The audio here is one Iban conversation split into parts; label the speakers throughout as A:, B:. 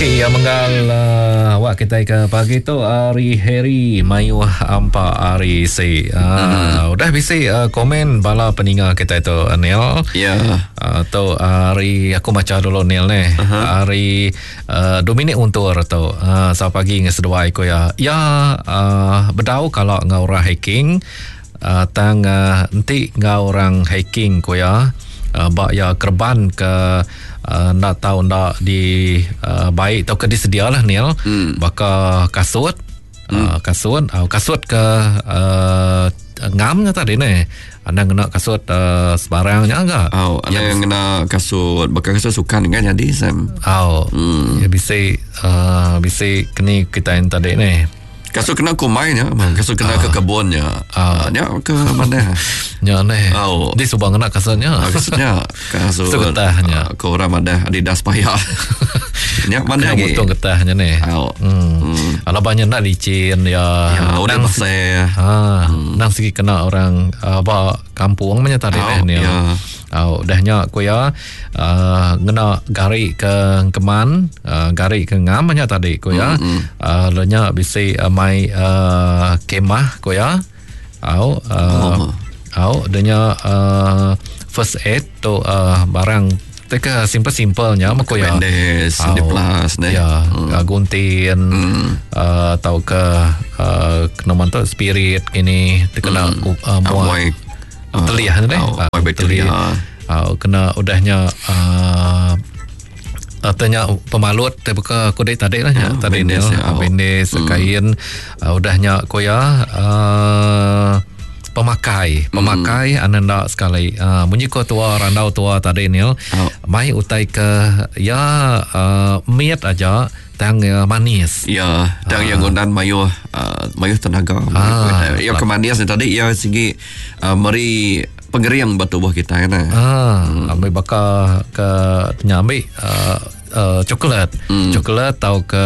A: Okey, ya menggal uh, awak kita ke pagi tu hari Harry mayuh ampa hari si. Uh, mm-hmm. Udah bisi uh, komen bala peninga kita tu Neil.
B: Ya. Yeah.
A: Uh, tu hari aku baca dulu Neil ni. Uh-huh. Hari uh, Dominic Untur tu. Uh, selamat pagi dengan seduai ko ya. Ya uh, bedau kalau ngau orang hacking uh, tang uh, enti ngau orang hacking ko ya. Uh, bak ya kerban ke uh, nda tau nda di uh, baik tau ke disedia lah Neil. Hmm. Baka kasut hmm. uh, kasut uh, kasut ke uh, ngamnya tadi ni. Anda ngena kasut uh, sebarangnya enggak?
B: Oh, anda ya, ngena kasut bakal kasut sukan kan jadi Sam.
A: Oh. Hmm. Ya bisa uh, bisa kini kita yang tadi ni.
B: Kasut kena kumai nya, kasut kena ke kebunnya. Ah, nya ke mana?
A: Nya ni. Oh. Di subang kena kasutnya.
B: Kasutnya. Kasut.
A: Kasut getahnya.
B: Ke orang ada Adidas payah. Nya mana lagi?
A: Betul getahnya ni.
B: Oh.
A: Hmm. hmm. Ala banyak nak licin ya.
B: Ya, udah pasal.
A: Ha, hmm. nang segi kena orang apa kampung macam tadi oh, ni.
B: Ya.
A: Oh, dah nya ku ya uh, ngena gari ke keman, uh, gari ke ngam banyak tadi ku ya.
B: Mm-hmm.
A: Uh, lenya bisi uh, mai uh, kemah ku ya. Au uh,
B: Oh.
A: au denya uh, first aid tu uh, barang teka simple-simplenya mah ku ya.
B: Bandage,
A: Au,
B: di plus ne.
A: Ya, hmm. guntin hmm. uh, atau ke uh, kena mantu spirit ini terkena hmm. uh, muai teliah ni
B: Oh,
A: uh,
B: bakteria.
A: Uh, kena udahnya uh, tanya pemalut terbuka kudik tadi lah ya, tadi ni
B: bandage, ya.
A: bandage kain uh, udahnya koya uh, pemakai pemakai hmm. anda sekali uh, munyi ko tua randau tua tadi ni
B: Oh.
A: mai utai ke ya uh, miat aja tang uh, manis
B: Ya, dan yang gundan mayuh uh, mayuh tenaga.
A: Ah.
B: Ya kemanias ni tadi ya segi uh, meri pengering batu buah kita kan.
A: Ah, hmm. ambil bakar ke tanya ambil uh, uh, coklat. Hmm. Coklat atau ke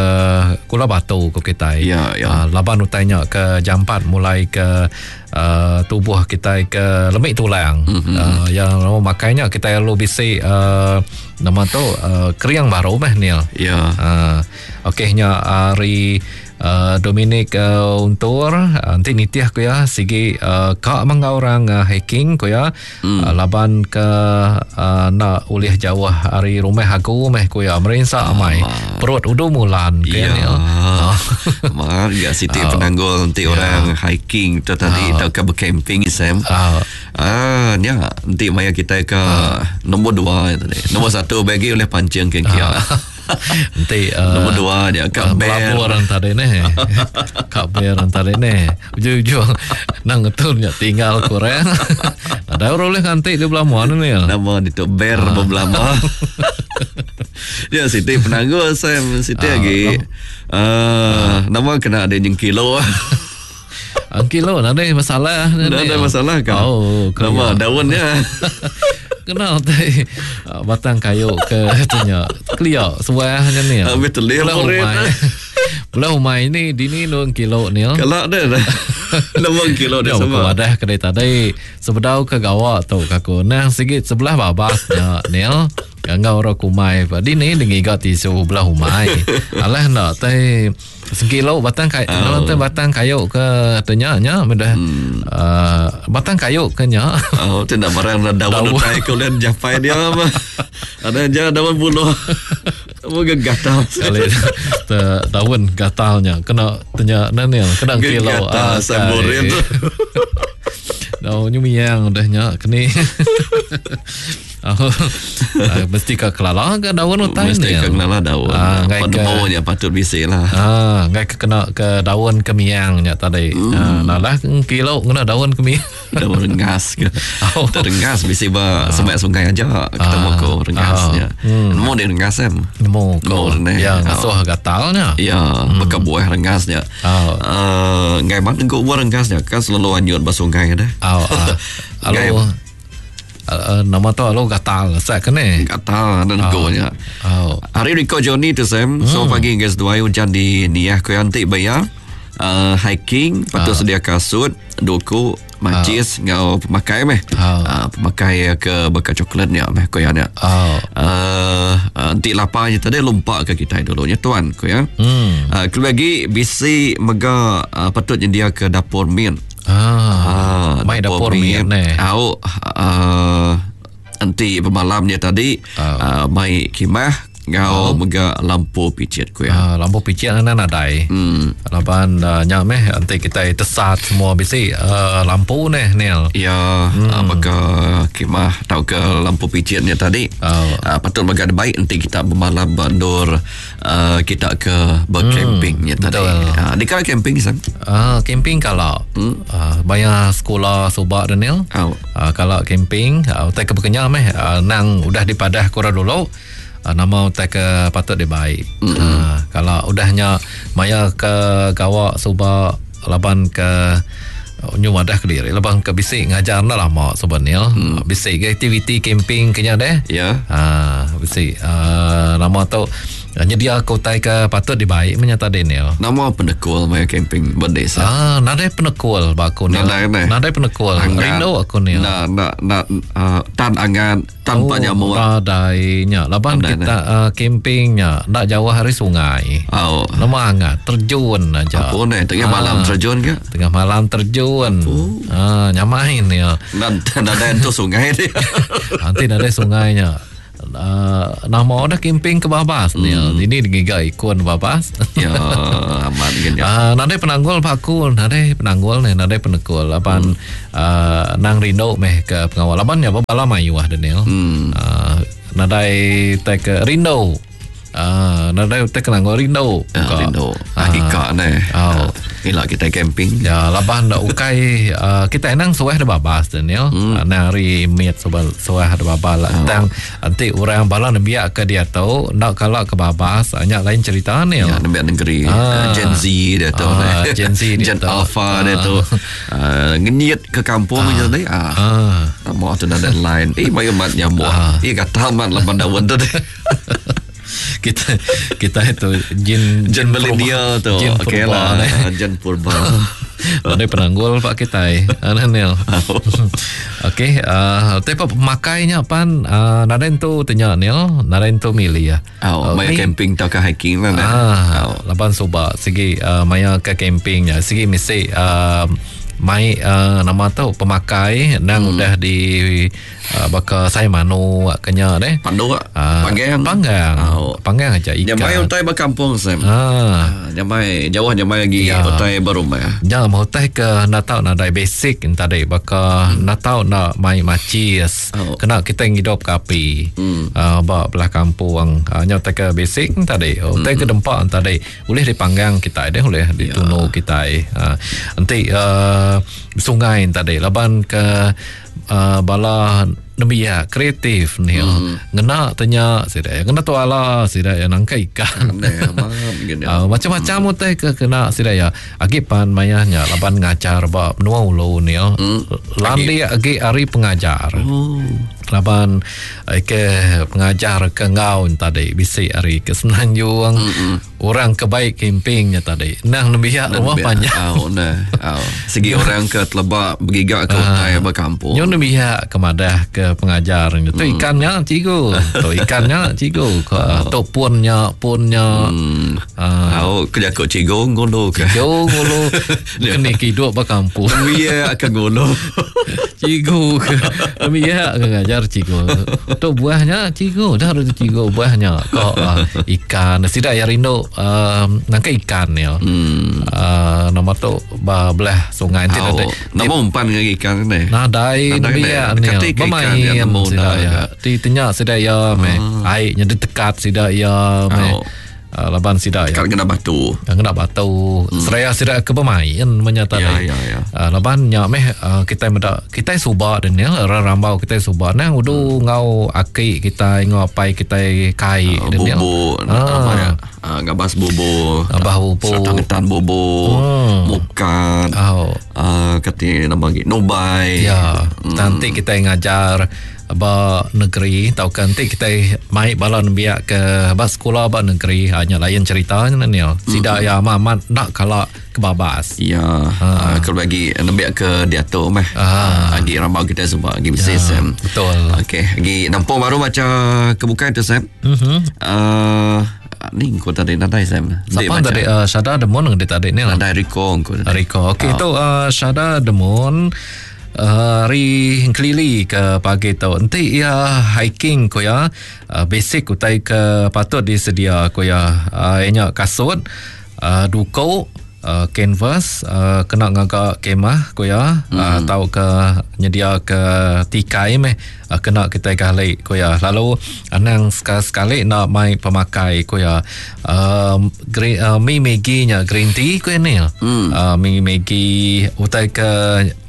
A: gula batu ke kita.
B: Ya, ya.
A: Uh, laban utainya ke jampat mulai ke uh, tubuh kita ke lemik tulang.
B: Mm-hmm.
A: Uh, yang nama makainya kita lalu bisi uh, nama tu uh, keriang baru meh Neil.
B: Ya.
A: Uh, okeynya hari uh, Dominic uh, Untur uh, nanti nitih aku ya sigi uh, kak mangga orang uh, hiking ku ya hmm. uh, laban ke uh, nak ulih jauh hari rumah aku meh ku ya merinsa amai perut udu mulan ke
B: Ya.
A: ni.
B: Mar ya siti penanggul nanti orang hiking tu tadi atau ke bercamping Sam.
A: Ah.
B: Ah, ya, nanti maya kita ke nombor dua tadi. Nombor satu bagi oleh pancing ke kia.
A: Nanti uh,
B: Nombor dua dia
A: Uh,
B: kat bear.
A: melabur orang tadi ni. Kak bear orang tadi ni. Ujung-ujung nang ngetulnya tinggal kurang. Ada orang boleh nganti di belah mana ni.
B: Nama dia tu bear berbelama. ya Siti penanggul Sam Siti lagi. Ah, nama kena ada yang kilo.
A: Angkilo ada masalah.
B: Dah ada masalah kau.
A: Oh,
B: Nama daunnya.
A: Kena tai batang kayu ke tanya. Clear sebuahnya ni.
B: Habis telur
A: Belah
B: murid.
A: umai. Belah umai ni dini nung kilo ni.
B: Kalau ada dah. Nama kilo dia
A: Ya,
B: sama.
A: aku wadah kedai tadi sebedau ke gawak tu kaku. Nah, sikit sebelah babasnya Neil. Gangga orang kumai. Di ni dengiga tisu belah umai. Alah nak tai sekilo batang kayu, oh. tai batang kayu ke tanya nya benda. Hmm. Uh, batang kayu ke nya.
B: Oh, tidak barang dah daun
A: Daun.
B: utai kau lihat japai dia apa. Ada aja daun buluh. Moga gatal.
A: Kali te, daun gatalnya kena tanya Neil kena kilo.
B: Gatal
A: Ah,
B: samburin.
A: Daun nyumiang dah nya keni. Oh, ah, mesti ke kelala ke daun utai
B: Mesti
A: ni.
B: ke kelala daun.
A: Ah, ngai ke
B: Penemunya patut bisik lah.
A: Ah, ngai ke kena ke daun kemiang nya tadi. Hmm. Ah, nah lah kilo kena daun kemiang.
B: Daun rengas ke.
A: Oh.
B: Terrengas bisi ba semak sungai aja ketemu
A: Ah.
B: ko rengasnya.
A: Ah. Hmm.
B: Nemu dia rengas em.
A: Nemu ko.
B: Nemu ni.
A: Ya, ngasuh gatalnya.
B: Ya, beka buah rengasnya.
A: Oh.
B: Eh, ngai mat engkau buah rengasnya kan selalu anyut ba sungai dah.
A: Oh, ah.
B: Ngai
A: Alo. Uh, nama tu alo gatal sak kene.
B: gatal ada engkaunya.
A: Oh.
B: Hari Rico Johnny tu Sam. So pagi guys dua hujan di Niah ko antik bayar. uh, hiking patut sedia kasut, duku, macis enggau pemakai meh. Uh, pemakai ke baka coklat nya meh ko ya nya. Uh, enti lapar nya tadi lumpak ke kitai dulu nya tuan ko ya. Hmm. Uh, kelebih agi bisi mega uh, patut nyendia ke dapur min.
A: Ah, uh, mai dapur, dapur min.
B: Eh. Au uh, enti bemalam nya tadi uh, mai kimah Ngau oh. mega lampu picit ku ya.
A: Uh, lampu picit ana nadai. Hmm. Laban uh, nya meh enti kita tesat semua bisi uh, lampu neh Neil.
B: Ya, hmm. uh, baka kemah tauka lampu picit nya tadi. Oh. Uh, patut mega baik enti kita bemalam ba endur uh, kita ke bercamping hmm. nya tadi. Uh, di kala camping san?
A: Uh, camping kala. Hmm. Uh, bayar sekolah subak Daniel. Oh. Uh, kala camping, uh, utai ke bekenya meh uh, nang udah dipadah ku orang dulu. Nama utai ke patut dibai. Mm-hmm. Uh, kalau udah nya maya ke gawa suba laban ke nyu madah ke diri laban ke bisi ngajar enda lama suba ni hmm. bisi ke aktiviti camping ke nya deh
B: ya yeah.
A: uh, bisi uh, nama tu nyedia ke utai ke patut dibai menya tadi ni
B: nama penekul maya camping ba desa
A: ah nadai penekul ba aku ni nadai nadai penekul rindu aku ni
B: na na na uh, tan angan Tanpa oh, nyamuk.
A: Nadai nya. Laban nadai, kita uh, camping nya ndak jauh hari sungai.
B: Oh.
A: Nama hangat terjun aja.
B: Apa ni? Tengah ah, malam terjun ke?
A: Tengah malam terjun. Oh. Ah, nyamai ni.
B: Nadai tu sungai dia.
A: Nanti nadai sungainya. Uh, nama dah camping ke babas ni. Ini digiga ikon babas.
B: Ya, amat
A: gini. Uh, nadai penanggul pak aku, nadai penanggul ni, nadai penekul. Laban hmm. Uh, nang rindu meh ke pengawa laban nya bala mayuh Daniel. Hmm. Uh, nadai tai ke rindu. Uh, nadai utai ke nanggo rindu.
B: Ya, rindu. Uh, Ika ne. Oh. Ila kita camping.
A: Ya, laban dak ukai uh, kita nang suah de babas Daniel. Hmm. Uh, nang hari mit suah suah de babas lah. Oh. Tang enti orang bala nembiak ke dia tu ndak kala ke babas nya lain cerita ni.
B: Ya, nembiak negeri. Uh, Gen Z dia tu.
A: Uh, Gen Z
B: dia
A: tu.
B: Gen Alpha dia tu. Uh, ngenyit ke kampung uh, je tadi. Ah. Uh. Nama tu ada line. Eh, mayu mat nyamuk. Uh. Eh, kata mat laban daun tu.
A: kita kita itu jin
B: jin milenial tu.
A: Okey
B: lah. Jin purba.
A: Ada penanggul pak kita eh. Anil. Okey, uh, tapi pemakainya pan uh, naren tu tanya Nil, naren tu milih ya.
B: Oh, maya camping tau ke hiking lah.
A: Ah, oh. Laban suba segi uh, maya ke camping nya segi mesti uh, mai uh, nama tu pemakai nang hmm. udah di uh, baka saya manu kenya deh.
B: Pandu uh, panggang.
A: Panggang. Oh. Panggang aja
B: ikan. Nyamai utai berkampung Sam. Ah. Nyamai jauh nyamai lagi ya. Utai berumah.
A: Ya, mau utai ke nak tahu nadai basic tadi baka hmm. nak tahu nak mai macis. Oh. Kena kita ngidup ke api. Hmm. Uh, ba belah kampung. Uh, nya utai ke basic tadi. Utai hmm. ke dempak tadi boleh dipanggang kita deh, boleh ditunu ya. Kita. Uh, enti uh, sungai tadi laban ke uh, bala nembiak kreatif ni hmm. ngena tanya sida ngena tu ala sida ya nangka ikan uh, macam-macam hmm. utai ke kena sida ya agi pan mayanya laban ngajar ba menua ulu ni hmm. Landi agi hari pengajar oh. Laban ke pengajar ke ngau tadi bisi hari ke Semenanjung hmm. Orang ke baik campingnya tadi nang nembiak rumah panjang
B: oh, nah. Oh. Segi orang ke telebak bergigak ke utai berkampung
A: nyo nembiak ke madah ke pengajar tu hmm. Ikannya cikgu tu ikannya cikgu ke oh. Tu punnya punnya
B: hmm. Uh, ke jakut cikgu ngulu ke
A: cikgu ngulu kena hidup berkampung
B: nembiak ke ngulu
A: cikgu ke nembiak ke ngajar cikgu tu buahnya cikgu dah ada cikgu buahnya kok uh, ikan sida ya rindu uh, nangka ikan ya hmm. uh, nama tu belah sungai nanti
B: oh, nama umpan dengan ikan ni
A: nadai nembiak ni bermain sida ya ti tanya sida ya meh airnya ditekat sida ya meh oh. Uh, laban sida
B: ya. Kena batu.
A: Kena batu. Hmm. Seraya sida ke bermain menyata
B: ya, ya, ya.
A: Uh, laban nya meh uh, kita meda kita suba dan ya rambau kita suba nang udu hmm. Ngau aki kita ngau apai kita kai
B: uh, dan ya. Bubu apa ya? Uh, ngabas bubu.
A: Ngabas bubu.
B: Serta ngetan bubu. Hmm. Mukat.
A: Oh.
B: Uh, kati nama lagi nubai.
A: Ya. Hmm. Nanti kita ngajar ba negeri tauka enti kitai mai bala nembiak ke ba sekula ba negeri ha, nya lain cerita nya Neil. Sida mm-hmm. ya amat-amat nak kala ke babas.
B: Ya, ha. kalau bagi nembiak ke diatu meh. Ha. Agi rambau kita semua agi bisi ya, Sam.
A: Betul.
B: Okey, agi nampung baru baca ke bukai tu Sam. Mhm. Uh, ni ku tadi nadai Sam.
A: Siapa tadi uh, Syada Demon ke tadi ni
B: lah. Nadai Rico
A: ku. Rico. Okey oh. tu uh, Syada Demon Hari engkelili ke pagi tu enti iya hiking ku iya basic utai ke patut disedia ku iya iya nya kasut duku canvas kena ngaga kemah ku iya tauka nyediaka tikai meh kena kitai gali ku iya lalu anang sekali-sekali enda mai pemakai ku iya mi maggi nya green tea ku iya ni mi maggi utai ke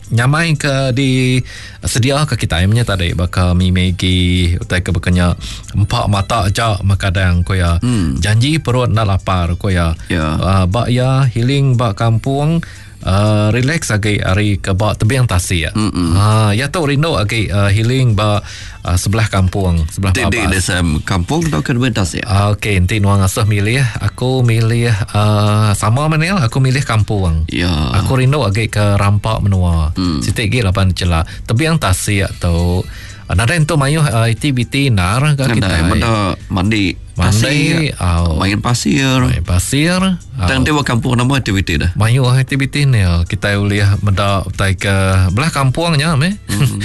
A: Nyamai ke di sedia ke kitai menya tadi baka mi maggi utai ke baka nya empa mata aja mekadang ku iya. Hmm. Janji perut enda lapar ku iya. Yeah. Uh, ba iya healing ba kampung uh, relax agi ari ke ba tebing tasik. Mm Ha iya tu rindu agi uh, healing ba uh, sebelah kampung, sebelah
B: babas. Di desa kampung atau ke tebing tasik?
A: Uh, Okey, enti nuan ngasuh milih, aku milih uh, sama meh aku milih kampung.
B: Ya.
A: Aku rindu agi ke rampa menua. Hmm. Siti agi laban cela tebing tasik tu. Nadai entu mayuh uh, aktiviti nar
B: ke kita. Meda mandi
A: mandi,
B: au. Main pasir.
A: Main pasir.
B: Tang ti ba kampung nama aktiviti dah?
A: Mayuh aktiviti ni. Kitai ulih meda utai ke belah kampung nya meh. Mm-hmm.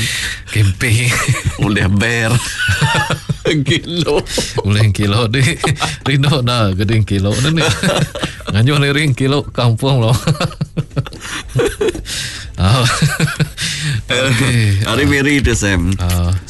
A: Camping.
B: Ulih bear. Kilo.
A: Ulih kilo di. Rindu dah geding kilo ni. Nganjuh liring kilo kampung lo.
B: Oh. Okay. Hari Mary tu Sam. Uh.